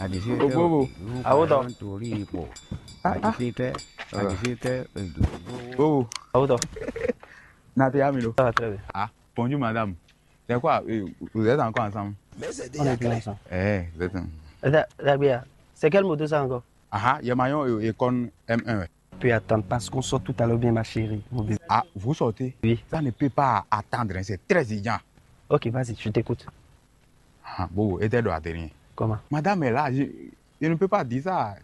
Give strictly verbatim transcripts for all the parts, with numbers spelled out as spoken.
Bobo, awo tɔ. Ah, ah. Bobo, awo tɔ. Naté Amilo. Ça va très bien. Ah, bonjour madame. C'est quoi, euh, vous êtes encore ensemble? On est plus ensemble. Eh, vous êtes en- Attends, Rabia, c'est quelle moto ça encore? Ah, ah, il y a Mayon et, et Con M un, ouais. Tu peux attendre parce qu'on sort tout à l'heure bien, ma chérie, mon bébé. Ah, vous sortez? Oui. Ça ne peut pas attendre, hein, c'est très urgent. Ok, vas-y, je t'écoute. Ah, Bobo, et t'es doit rien. Comment? Madame est là, je, je ne peux pas dire ça.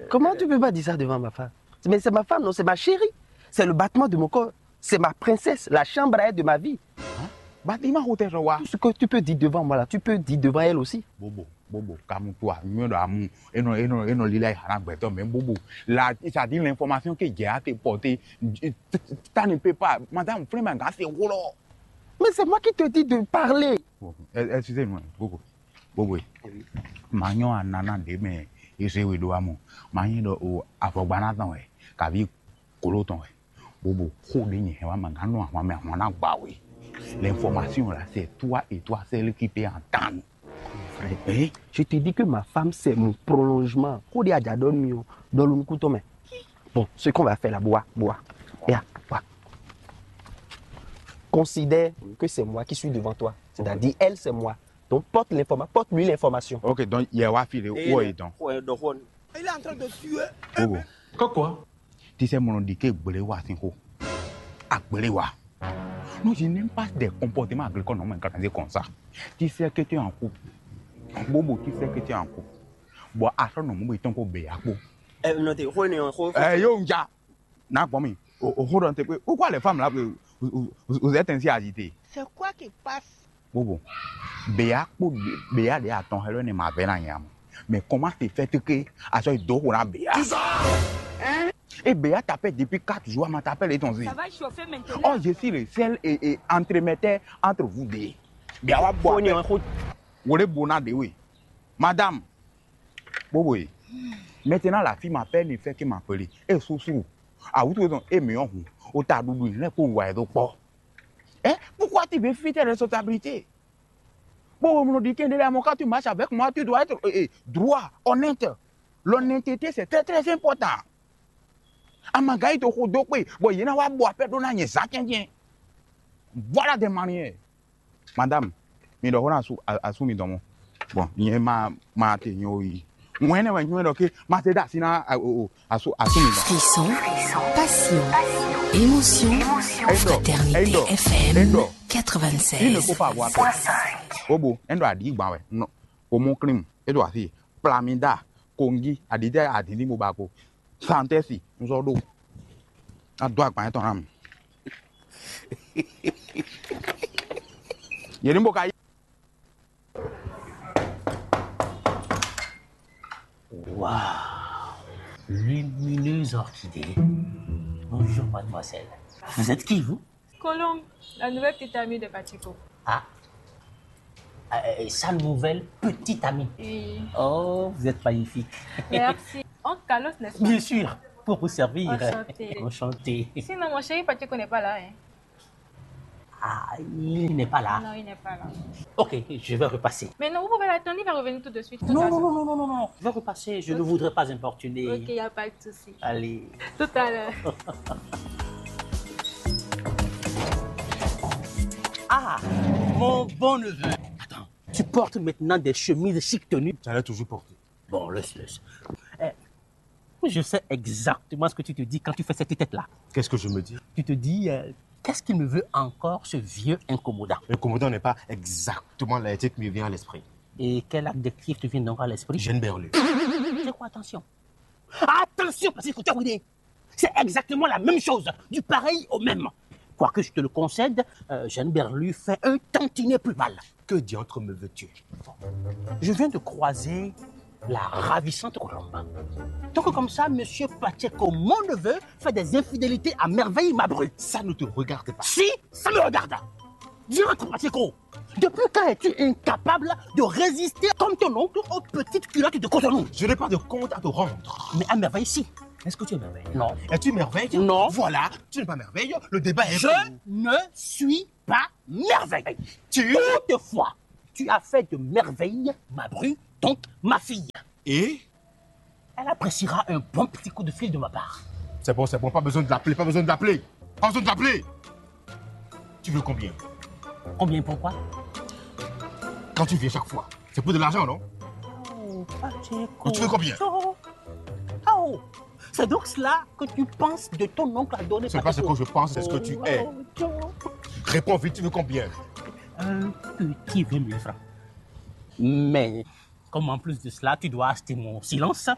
Comment tu peux pas dire ça devant ma femme? Mais c'est ma femme, non, c'est ma chérie. C'est le battement de mon corps. C'est ma princesse, la chambre à air de ma vie. Hein? Bâtiment hôtel rɔ wa. Tout ce que tu peux dire devant moi là, tu peux dire devant elle aussi. Bobo, Bobo, calme-toi. Mieux de amour. Et non, et non, et non, lila hana gbɛtɔ, mais Bobo. Là, ça dit l'information que j'ai à te porter. Ça ne peut pas. Madame, vraiment, c'est gros. Mais c'est moi qui te dis de parler. Bon, excusez-moi, Bobo. Bobo. Manyɔ anana ɖe mɛ ezé we ɖó amɔ. Manyɔ ɖɔ o avɔgbana tɔn wɛ, kavi kolo tɔn wɛ. Bobo, xó ɖé nyɛ hɛn wá ma gán nɔ ahwan mɛ ahwan ná gba we. L'information là, c'est toi et toi seul qui peux entendre. Hein? Je te dis que ma femme, c'est mon prolongement. Xó ɖé aja ɖɔ nú mi o, ɖɔ ló nukún tɔn mɛ. Bon, ce qu'on va faire là, Boa, Boa. Ya, Boa. Considère que c'est moi qui suis devant toi. C'est-à-dire, elle, c'est moi. Donc, porte l'informa-, porte-lui l'information. Ok, donc, il y a Wafile. Où est donc? Il est en train de suer. Bobo. Kɔkɔ. Tu sais, mon dit que Gbelewa, c'est quoi? Ah, Gbelewa. Non, je n'aime pas des comportements agricoles, non, mais quand c'est comme ça. Tu sais que tu es en couple. Bobo, tu sais que tu es en couple. Bon, attends, non, mon béton pour Béapo. Eh, non, t'es, eh, yo, nja. N'a gbɔn mi. O, o, hold on, t'es, pourquoi les femmes là, vous, vous, vous, vous êtes ainsi agitées? C'est quoi qui passe? Bobo. Béa kpó Béa ɖe atɔn xɛ lɔ ne ma vɛ na nya mo. Mais comment se fait que à ce do na Béa? Et Béa t'appelle depuis quatre jours, ma t'appelle et ton zi. Ça va chauffer maintenant. Oh, je suis le seul et, et entremetteur entre vous deux. Béa wa bo. Wole bona de oui. Madame. Bobo. Maintenant la fille m'appelle, ne fait que m'appeler. Et sousou. Ah, vous trouvez donc, et mais on, au tas doudou, il n'est pas ouvert donc pas. Hein? Pourquoi tu veux fuir tes responsabilités? Bon, on me dit que quand tu marches avec moi, tu dois être, euh, euh, droit, honnête. L'honnêteté, c'est très, très important. Amagayi to xo dó kpé, bon, il y en a wa bo appel dona nye za tiens tiens. Voilà des manières. Madame, mi ɖɔ xó na asu, a-, asu mi dɔn mɔ. Bon, nyɛ ma, ma te nyɔ yi. Ŋwɛn ne wɛ nyɔ ɖɔ ke ma te da asi na, a, o, o, asu, asu mi dɔn. Frisson, passion, émotion, Fraternité F M quatre-vingt-seize. Il ne faut pas avoir peur. Bobo, en doit dire gban wɛ. Non. Au mon crime, e do asi. Plamida, Kongi, adide, adidi mo ba ko. Santesi, nzɔ ɖo. Ado agban etɔn na mi. Yɛ ni bo ka yi. Waouh, lumineuse orchidée. Bonjour, mademoiselle. Vous êtes qui, vous? Colombe, la nouvelle petite amie de Pacheco. Ah. Euh, sa nouvelle petite amie. Oui. Oh, vous êtes magnifique. Merci. On calotte, n'est-ce pas? Bien sûr, pour vous servir. Enchanté. Enchanté. Sinon, mon chéri Pacheco n'est pas là, hein. Ah, il n'est pas là. Non, il n'est pas là. Ok, je vais repasser. Mais non, vous pouvez l'attendre, il va revenir tout de suite. Non, non, non, non, non, non, non. Je vais repasser, je ne voudrais pas importuner. Ok, il n'y a pas de souci. Allez. Tout à l'heure. Ah, mon bon neveu. Attends, tu portes maintenant des chemises chic tenues. J'allais toujours porter. Bon, laisse, laisse. Eh, je sais exactement ce que tu te dis quand tu fais cette tête-là. Qu'est-ce que je me dis? Tu te dis, euh, qu'est-ce qu'il me veut encore, ce vieux incommodant? Incommodant n'est pas exactement l'adjectif qui me vient à l'esprit. Et quel adjectif te vient donc à l'esprit? Jeune berlu. C'est quoi, attention? Attention, parce qu'il faut t'arrêter. C'est exactement la même chose, du pareil au même. Quoique je te le concède, euh, Jeanne Berlu fait un tantinet plus mal. Que diantre me veux-tu? Je viens de croiser la ravissante Colombe. Donc comme ça, monsieur Pacheco, mon neveu, fait des infidélités à merveille, ma bru. Ça ne te regarde pas. Si, ça me regarde. Diantre Pacheco, depuis quand es-tu incapable de résister comme ton oncle aux petites culottes de Cotonou? Je n'ai pas de compte à te rendre. Mais à merveille, si. Est-ce que tu es merveille? Non. Es-tu merveille? Non. Voilà, tu n'es pas merveille. Le débat est... Je ne suis pas merveille. Tu... Toutefois, tu as fait de merveille ma bru, donc ma fille. Et elle appréciera un bon petit coup de fil de ma part. C'est bon, c'est bon, pas besoin de l'appeler, pas besoin de l'appeler. Pas besoin de l'appeler. Tu veux combien ? Combien, pourquoi ? Quand tu viens chaque fois, c'est pour de l'argent, non ? Oh, Pacheco. Donc tu veux combien ? Oh, c'est donc cela que tu penses de ton oncle à donner. C'est pas ce que je pense, c'est ce que tu es. Oh, Joe. Réponds vite, tu veux combien ? Un petit vingt mille francs. Mais, comme en plus de cela, tu dois acheter mon silence.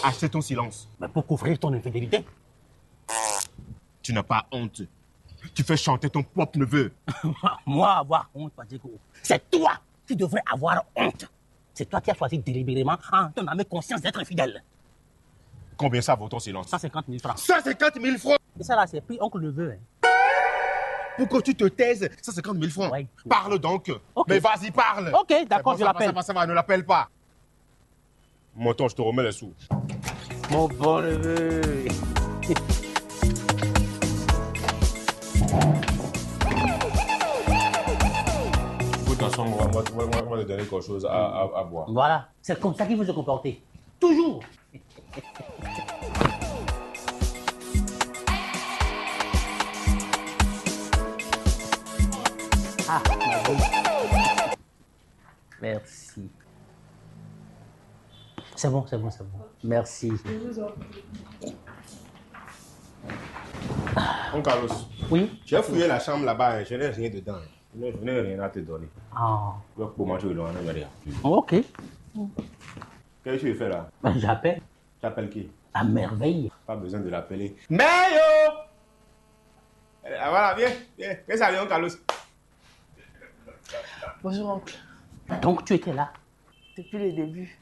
Acheter ton silence ? Mais pour couvrir ton infidélité. Tu n'as pas honte. Tu fais chanter ton propre neveu. Moi, avoir honte, Pacheco. C'est toi qui devrais avoir honte. C'est toi qui as choisi délibérément, en ton âme et conscience, d'être infidèle. Combien ça vaut ton silence ? Cent cinquante mille francs. Cent cinquante mille francs ? Et ça là, c'est prix oncle neveu, hein. Pour que tu te taises, cent cinquante mille francs. Ouais. Parle donc. Ok. Mais vas-y, parle. Ok, d'accord, je l'appelle. Ça va, ça va, ça va, ne l'appelle pas. Mon temps, je te remets les sous. Mon bon neveu. Écoute, ensemble, on va, on va, on va, on va te donner quelque chose à, à, à boire. Voilà, c'est comme ça qu'il faut se comporter. Toujours. Ah, ma bonne. Merci. C'est bon, c'est bon, c'est bon. Merci. Mon Carlos, oui, j'ai fouillé la chambre là-bas, hein, je n'ai rien dedans, hein. Je n'ai, je n'ai rien à te donner. Ah. Donc, pour moi, tu veux donner rien. Ok. Qu'est-ce que tu veux faire là ? Ben, j'appelle. Tu appelles qui ? À merveille. Pas besoin de l'appeler. Mais yo ! Ah, voilà, viens, viens. Viens saluer, mon Carlos. Bonjour, oncle. Donc, tu étais là ? Depuis le début.